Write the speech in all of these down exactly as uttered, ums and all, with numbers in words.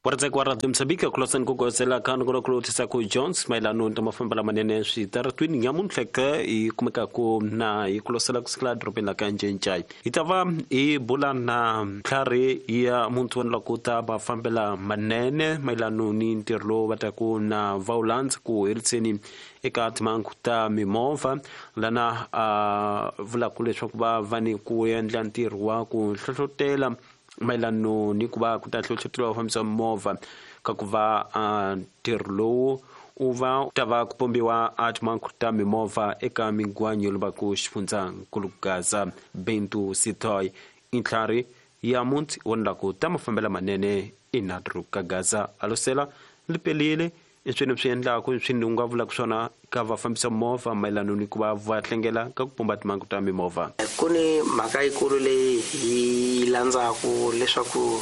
Waradzaki wa Radio Mozambique kulosani ku gozela ka nongonoko ku Jones mayelano na mafambelo manene switaratwini nyamuntlha ke hi kumekaku na hi kulosela kusukela edorobeni la ka Ncencai. Hi ta va hi bula na ntlhari ya munthu wa ku ta mafambela manene mayelano ni ntirho lowu va taku na va wu landza ku heriseni eka timhangu ta mimovha lana a vulaka leswaku va va ni ku endla ntirho wa ku hlohlotela mayelano ni ku va ku ta hlohloteriwa vafambisi va mimovha ka ku va ntirho lowu u va ta va ku pombiwa a timhangu ta mimovha eka migwanyo loba ku xifundzankulu Gaza. Bento Sitoy i ntlhari ya muti wa ku ta mafambelo manene inadru ka Gaza alosela lipelile i swi endlaku swi nga vulaka swona ka vafambisi movha mayelano ni ku va va tlangela ka ku pumba timhangu ta mimovha. Ku ni mhaka yikulu leyi hi landzaku leswaku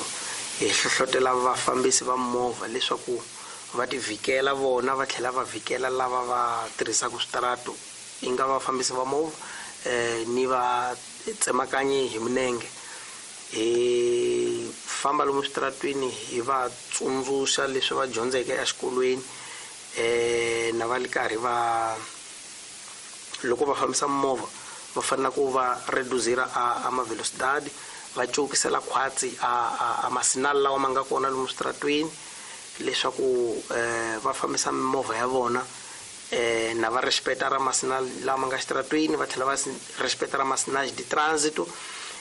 hi hlohlotela vafambisi va movha leswaku va ti vhikela vona va tlhela va vhikela lava va tirhisaka switarato i nga vafambisi va movha um ni va tsemakanyi hi minenge. Hi famba lomu switaratwini hi va tsundzuxa leswi va dyondzeke exikolweni um na va li karhi va loko va fambisa movha va fanele ku va reduzira a, a mavelocidade va cokisela khwatsi a, a, a masinali lawa ma nga kona lomu switaratwini leswaku um va fambisa mimovha ya vona um na va respecta ra masinali lama nga xitaratwini va tlhela va respecta ra masinali de trânsito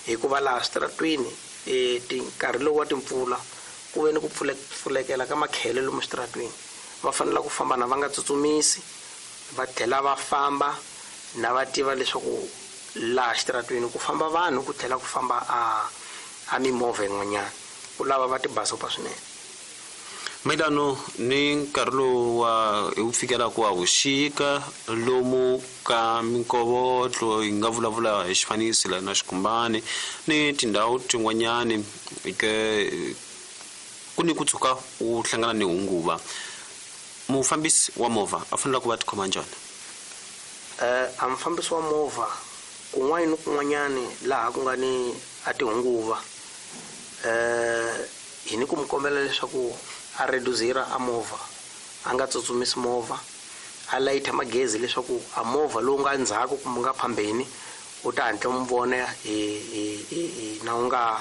hikuva laha switaratwini um nkarhi lowu wa timpfula ku ve ni ku pfulekela ka makhele lomu switaratwini va fanele ku famba na va nga tsutsumisi va tlhela va famba na va tiva leswaku laha xitaratwini ku famba vanhu ku tlhela ku famba a a mimovha yin'wanyana ku lava va tibasopa swinene. Mayelano ni nkarhi lowu wa hi wu fikelaka wa vuxika lomu ka minkovotlo hi nga vulavula hi xifaniso la na xikumbani ni tindhawu tin'wanyani ke ku ni ku tshuka u hlangana ni hunguva mufambisi wa movha a fanele ku va tikhoma njhani? Um a mufambisi wa movha kun'wana ni kun'wanyani laha ku nga ni a tihunguva um hi ni ku mi kombela leswaku a reduzira a movha a nga tsutsumisi movha a layitha magezi leswaku a movha lowu nga ndzhaku kumbe nga phambeni u ta hatla mu vona hi hi na u nga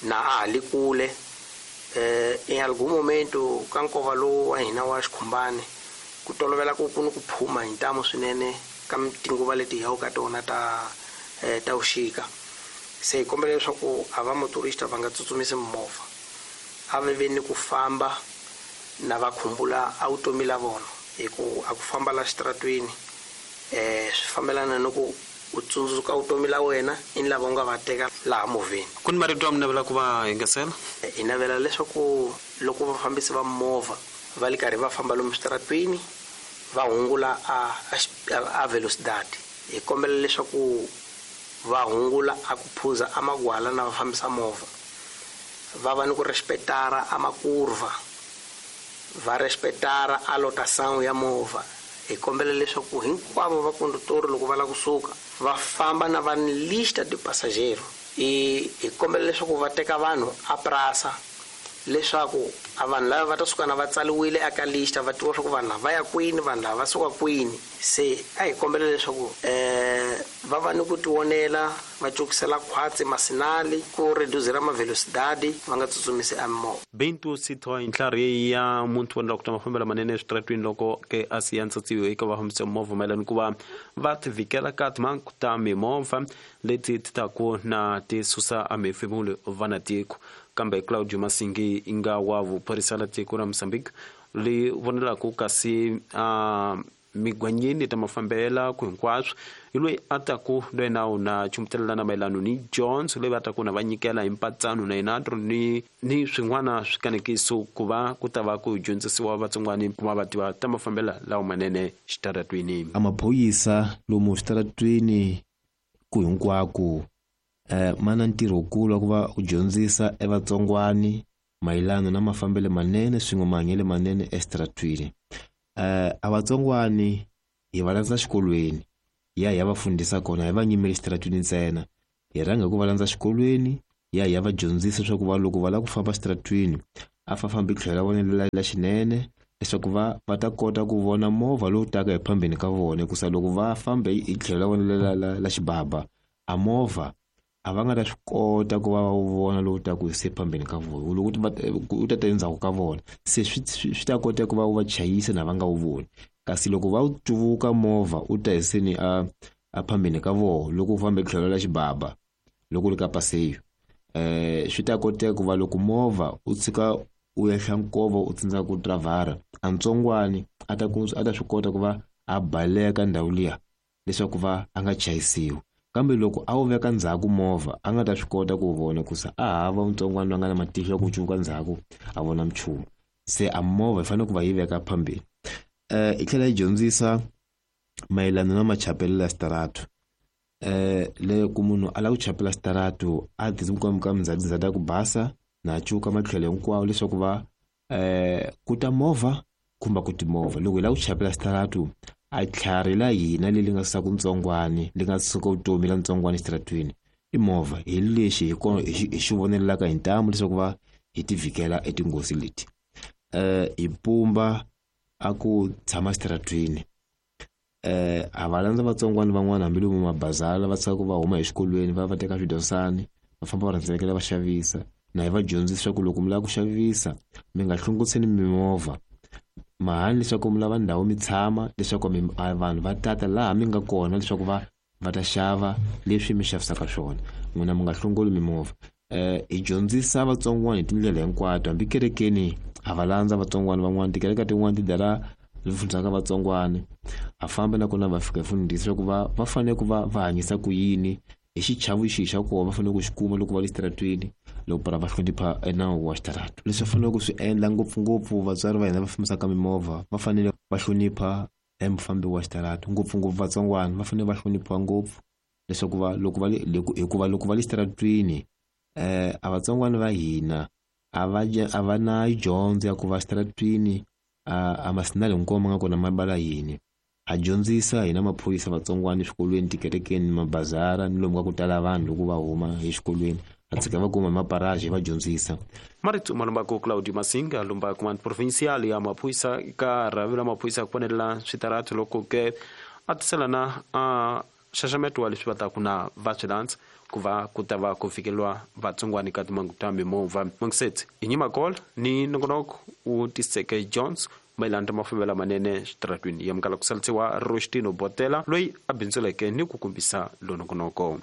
na a ha li kule. Um em algum momento ka nkova lowu wa hina wa xikhumbani ku tolovela ku ku ni ku phuma hi ntamu swinene ka tinguva leti hi yaka ka tona ta ta vuxika se hi kombela leswaku a va motorista va nga tsutsumisi mimovha a va ve ni ku famba na va khumbula a vutomi la vona hi ku a ku famba la xitaratwini um swi fambelana ni ku u tsundzuka vutomi la wena i ni lava u nga va teka laha movheni. Ku ni marito ya mi navela ku va yingisela? Hi navela leswaku loko vafambisi va movha va li karhi va famba lomu switaratwini va hungula a, a, a velocidade hi kombela leswaku va hungula a ku phuza a magwala na va fambisa movha va va ni ku respectara a makurva va respectara a lotação ya movha. Hi kombela leswaku hinkwavo va condutor loko va lava kusuka va famba na va ni lista de passageiro hi hi kombela leswaku va teka vanhu a prasa leswaku a vanhu lava va ta suka na va tsaliwile eka lista va tiva swa ku vanhu lava va ya kwini vanhu lava va suka kwini se a hi kombela leswaku um va va ni ku tivonela va cokisela khwatsi masinali ku reduzira mavelocidade va nga tsutsumisi a mimovha. Bento Sitoy ntlhari ya muntu wa ku ta mafambelo manene eswitaratwini loko ke a siya ntsatsiwo eka vafambisi va movha mayelana ku va va ti vhikela ka timhangu ta mimovha leti ti taku na ti susa a mihefemulo va na tiko. Kambe Claudio Masingi nga wa vuphorisa la tiko ra Mozambique li vonelaku kasi a migwanyini ta mafambela ku hinkwaswo hi loyi a taku loyi na na chumutelelana mayelano ni Jones loyi va taku na va nyikela hi mpatsano na Inadro ni ni swin'wana swikanekiso ku va ku ta va ku dyondzisiwa vatsongwani ku va va tiva ta mafambela lawa manene xitaratwini. A maphorisa lomu xitaratwini ku hinkwako eh mana ntirho wukulu wa ku va u dyondzisa evatsongwani mayelana na mafambelo manene swin'we mahanyelo manene exitaratwini. Eh a vatsongwani hi va landza xikolweni ya hi ya va fundisa kona hi va nyimeli xitaratwini ntsena hi rhanga hi ku va landza xikolweni ya hi ya va dyondzisa leswaku va loko va lava ku famba xitaratwini a fafambi tlhelo ra vona la xinene leswaku va va ta kota ku vona movha lowu taka hi phambeni ka vona, hikusa loko va fambe hi tlhelo ra vona la la la xibaba a movha a va nga ta swi kota ku va va wu vona lowu taka hi se phambeni ka vona, loko u ta ta endzhaku ka vona se swi swi ta kota ku va wu va chayisa na va nga wu voni. Kasi loko va wu cuvuka movha u ta hi seni a a phambeni ka vona loko u fambe tlhelo la xibaba loko u ri ka paseyo, eh swi ta koteka ku va loko movha u tshika u ehla nkova u tsandzeka ku dravhara, a ntsongwani a ta ku a ta swi kota ku va a baleka ndhawu liya leswaku va a nga chayisiwi. Kambe loko a wu veka ndzhaku movha a nga ta swi kota ku vona kusa a hava ntsongwana loyi a nga na matihlo ya ku cuvuka ndzhaku a vona nchumu. Se a movha yi fanele ku va yi veka phambeni. Eh yi tlhela yi dyondzisa mayelana na machapelo ya xitarato. Eh le ku munhu a lava ku chapela xitarato a ti ka mindzhaku ya ku basa na cuka matlhelo hinkwawo leswaku va eh ku ta movha kumbe ku timovha. Loko hi lava ku chapela xitarato a tlhari la hina leri nga suka ntsongwani li nga suka vutomi la ntsongwani xitaratweni i movha, hi lexi hi kona hi xi vonelaka hi ntamu leswaku va hi ti vhikela etinghozi leti. Eh hi pumba a ku tshama xitaratweni, eh a va landza vatsongwana van'wana hambi lomu mabazala va tshika ku va huma exikolweni va va teka swidyondzisani va famba va rhendzelekela va xavisa. Na hi va dyondzisa leswaku loko mi lava ku xavisa mi nga hlongoseni mimovha mahani leswaku mi lava ndhawu mi tshama leswaku vanhu va tata laha mi nga kona leswaku va va ta xava leswi mi xavisaka swona, n'wina mi nga hlongoli mimovha. Eh hi dyondzisa vatsongwana hi tindlela hinkwato, hambi kerekeni a va landza vatsongwana van'wana, tikereke tin'wana ti dala fundisaka vatsongwana a famba nakona va fika hi fundisa leswaku va va fanele ku va va hanyisa ku yini hi xichavo xihi xa kona va fanele ku xi kuma loko va le xitaratweni loko para va hlonipha nawu wa xitarato. Leswi va fanele ku swi endla ngopfungopfu vatswari va hina va fambisaka mimovha va fanele va hlonipha emufambi wa xitarato, ngopfungopfu vatsongwana va fanele va hloniphiwa ngopfu leswaku va loko va le hikuva loko va le xitaratweni eh a vatsongwana va hina a va a va na dyondzo ya ku va xitaratweni a masinali hinkwawo ma nga kona ma bala yini. A dyondzisa hina maphorisa vatsongwana eswikolweni, tikerekeni, mabazara ni lomu ka ku tala vanhu loko va huma exikolweni a tshika va kuma maparaji va dyondzisa. Marito malumbako Claudio Masinga lumba command provincial ya maphorisa ka rhavi ra maphorisa ku fonela switarato loko ke a tisela na a xaxameto wa leswi va taku na va swi landza ku va ku ta va ku fikelwa vatsongwana ka timangu ta mimovha. Mongisetsi hi Nyimakol ni nongonoko wu tiseke Jones mayelana na mafambelo manene xitaratweni ya mukala ku salisiwa Rostino Botela loyi a bindzuleke ni ku kombisa lonongonoko.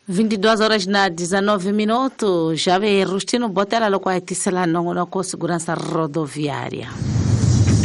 vinte e duas horas na dezenove minutos, já vem Rustino Botela loko a tisela nongonoko segurança rodoviária.